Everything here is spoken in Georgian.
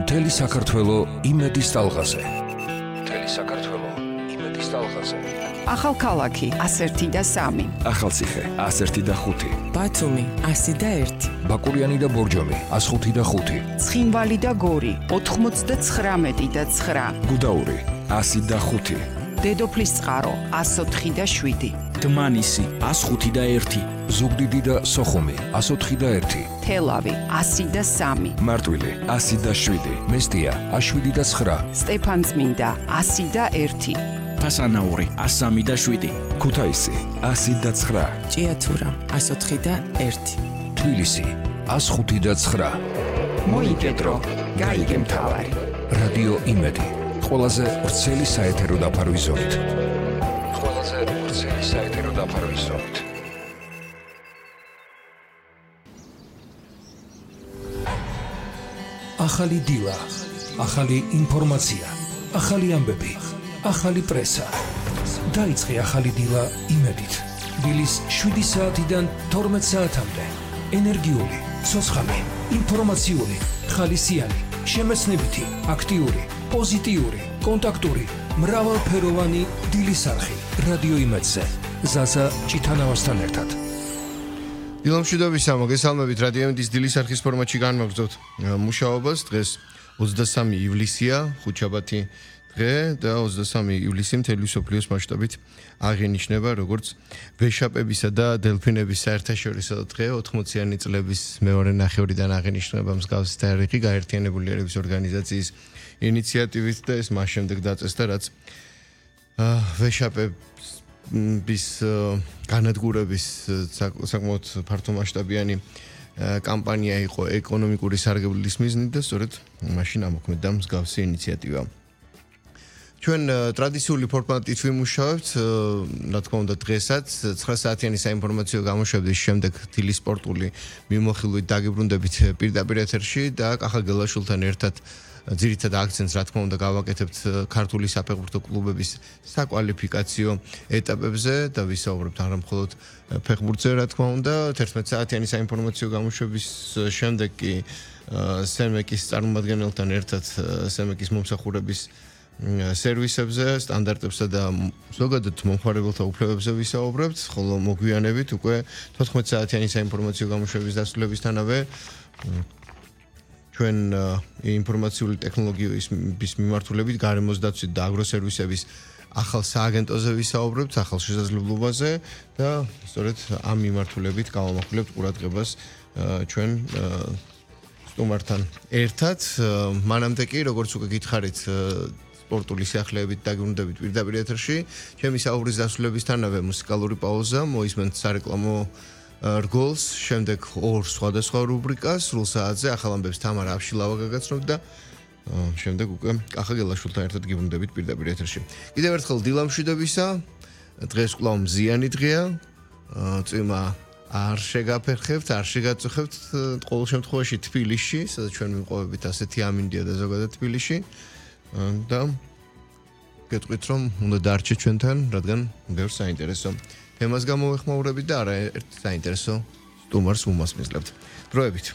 მთელი საქართველო იმედის ტალღაზე. მთელი საქართველო იმედის ტალღაზე. ახალქალაქი 101 და 3. ახალციხე 101 და 5. ბათუმი 101. ბაკურიანი და ბორჯომი 105 და 5. ცხინვალი და გორი 99 და 9. გუდაური 100 და 5. დედოფლისწყარო 104 და 7. დმანისი 105 და 1. ზუგდიდი და სოხუმი 104 და 1. თელავი 100 და 3. მარტვილი 100 და 7. მესტია 7 და 9. სტეფანწმინდა 100 და 1. ფასანაური 103 და 7. ქუთაისი 100 და 9. ჭიათურა 104 და 1. თბილისი 105 და 9. მოიკედრო, გაიგე მთავარი. რადიო იმედი. ყველაზე ვრცელი საეთერო დაფარვის ზოლით. ყველაზე ვრცელი საეთერო დაფარვის ზოლით. ახალი დილა, ახალი ინფორმაცია, ახალი ამბები, ახალი პრესა. დაიწყე ახალი დილა იმედით. დილის 7 საათიდან 12 საათამდე. ენერგიული, ცოცხალი, ინფორმაციული, ხალისიანი, შემეცნებითი, აქტიური, პოზიტიური, კონტაქტური, მრავალფეროვანი დილის არხი. რადიო იმედზე. ზაზა ჭითანავასთან ერთად. დილამშვიდობისა, მოგესალმებით რადიო იმედის დილის არხის ფორმატში განმაგზავნებთ მუშაობას. დღეს 23 ივლისია, ხუთშაბათი დღე და 23 ივლისი მთელი მსოფლიოს მასშტაბით აღინიშნება როგორც ვეშაპებისა და დელფინების საერთაშორისო დღე. 80-იანი წლების მეორე ნახევრიდან აღინიშნება მსგავსი თარიღი გაერთიანებული ერების ორგანიზაციის ინიციატივით და ეს მას შემდეგ დაწესდა, რაც ვეშაპების განადგურების საკმაოდ ფართომასშტაბიანი კამპანია იყო ეკონომიკური სარგებლის მიზნით და სწორედ მაშინ ამოქმედდა მსგავსი ინიციატივა. ჩვენ ტრადიციული ფორმატით ვიმუშავებთ, რა თქმა უნდა დღესაც 9 საათიანი საინფორმაციო გამოშვების შემდეგ დილის სპორტული მიმოხილვით დაგიბრუნდებით პირდაპირ ეთერში და კახა გელაშვილთან ერთად ძირითად აქცენტს რა თქმა უნდა გავაკეთებთ ქართული საფეხბურთო კლუბების საკვალიფიკაციო ეტაპებზე და ვისაუბრებთ არა მხოლოდ ფეხბურთზე რა თქმა უნდა 11 საათიანი საინფორმაციო გამოშვების შემდეგ კი სემეკის წარმომადგენელთან ერთად სემეკის მომსახურების სერვისებზე, სტანდარტებსა და ზოგადად მომხმარებელთა უფლებებზე ვისაუბრებთ, ხოლო მოგვიანებით უკვე 14 საათიანი საინფორმაციო გამოშვების დასრულებისთანავე ჩვენ ინფორმაციული ტექნოლოგიების მიმართულებით გარემოს დაცვით და აგროსერვისების ახალ სააგენტოზე ვისაუბრებთ, ახალ შესაძლებლობაზე და სწორედ ამ მიმართულებით გავამახვილებთ ყურადღებას ჩვენ სტუმართან ერთად. მანამდე კი, როგორც უკვე გითხარით, სპორტული სიახლეებით დაგიბრუნდებით პირდაპირ ეთერში. ჩემი საუბრის დასრულებისთანავე მუსიკალური პაუზა, მოისმენთ სარეკლამო რგოლს, შემდეგ ორ სხვადასხვა რუბრიკას, სრულ საათზე ახალ ამბებს თამარა აფშილავა გაგაცნობთ და შემდეგ უკვე კახა გელაშვილთან ერთად გიბრუნდებით პირდაპირ ეთერში. კიდევ ერთხელ დილამშვიდობისა, დღეს კვლავ მზიანი დღეა, წვიმა არ შეგაფერხებთ, არ შეგაწუხებთ, ყოველ შემთხვევაში თბილისში, სადაც ჩვენ ვიმყოფებით ასეთი ამინდია და ზოგადად თბილისში და გეტყვით რომ უნდა დარჩეთ ჩვენთან, რადგან ბევრ საინტერესო თემას გამოვეხმაურებით და არაერთ საინტერესო სტუმარს უმასპინძლებთ. დროებით.